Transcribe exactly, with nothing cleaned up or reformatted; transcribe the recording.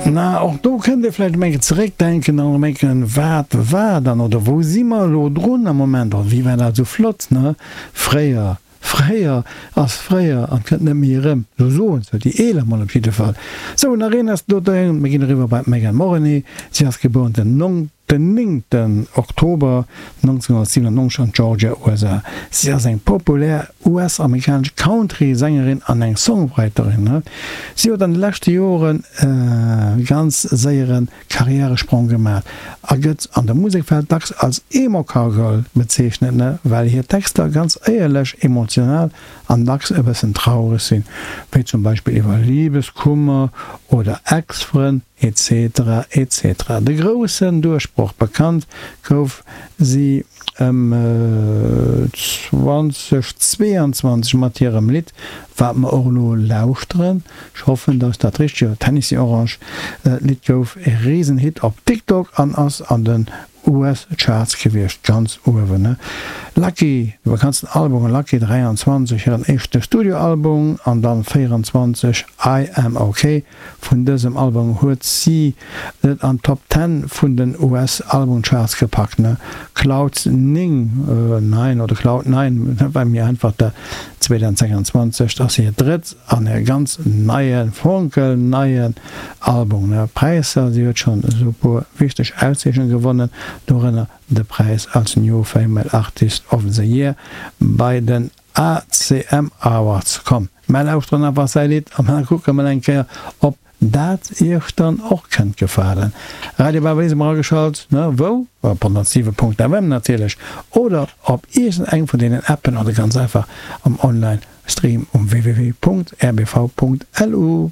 Na, och do kënnt ee vläicht eng Kéier zeréckdenken an erëm denken, Wat war dann oder wou si mer elo drun am Moment oder wéi war dat esou flott, ne, fréier? Fréier ass fréier an kënnt net méi erëm, esou soen se déi Eeler mol op jidde Fall. Sou, nach een ass do, mir ginn eriwwer bei d'Megan Morrone. Si ass gebuer den den néngten Oktober nonzénhunnertsiwenannonzeg an Georgia, U S A. Si ass eng populär U S-amerikanesch Country-Sängerin an eng Songwriterin. Si huet an de leschte Joren e ganz séiere Karriäresprong gemaach a gëtt an der Musekwelt dacks als Emo-Cowgirl bezeechnet, well hir Texter ganz éierlech, emotional an dacks e bëssen traureg sinn, wéi zum Beispill iwwer Libeskummer oder Ex-Frënn et cetera et cetera. De groussen Duerchbroch bekannt gouf si ëm zweedausendzweeanzwanzeg mat hirem Lidd, wat mer och elo lauschteren, ech hoffen, dass dat richteg ass, Tennessee Orange. D'Lidd gouf e Risenhit op TikTok an ass an den U S-Charts gewiescht, ganz uewen. Lucky, de bekanntsten Album, Lucky dräianzwanzeg, hiren éischte Studioalbum, an dann véieranzwanzeg I Am Ok. Vun dësem Album huet si et an d'Top Ten vun den U S-Albumcharts gepackt. Cloud Ning, Nine oder Cloud Nine, war mir einfach der zweedausendsechsanzwanzeg, ass hir drëtt an e ganz neie, fonkelneien Album. Präisser, si huet schonn esou e puer wichteg Auszeechnunge gewonnen, dorënner de Präis als New Female Artist of the Year bei den A C M Awards. Komm, mer lauschteren einfach säi Lidd an da kucke mer eng Kéier, ob dat iech dann och kënnt gefalen. Radio Baba Lisem erageschalt, ne, wou? Op honnertsiwe Punkt F M natierlech oder op iergend eng vun deenen Appen oder ganz einfach am Online Stream um W W W Punkt R B V Punkt L U.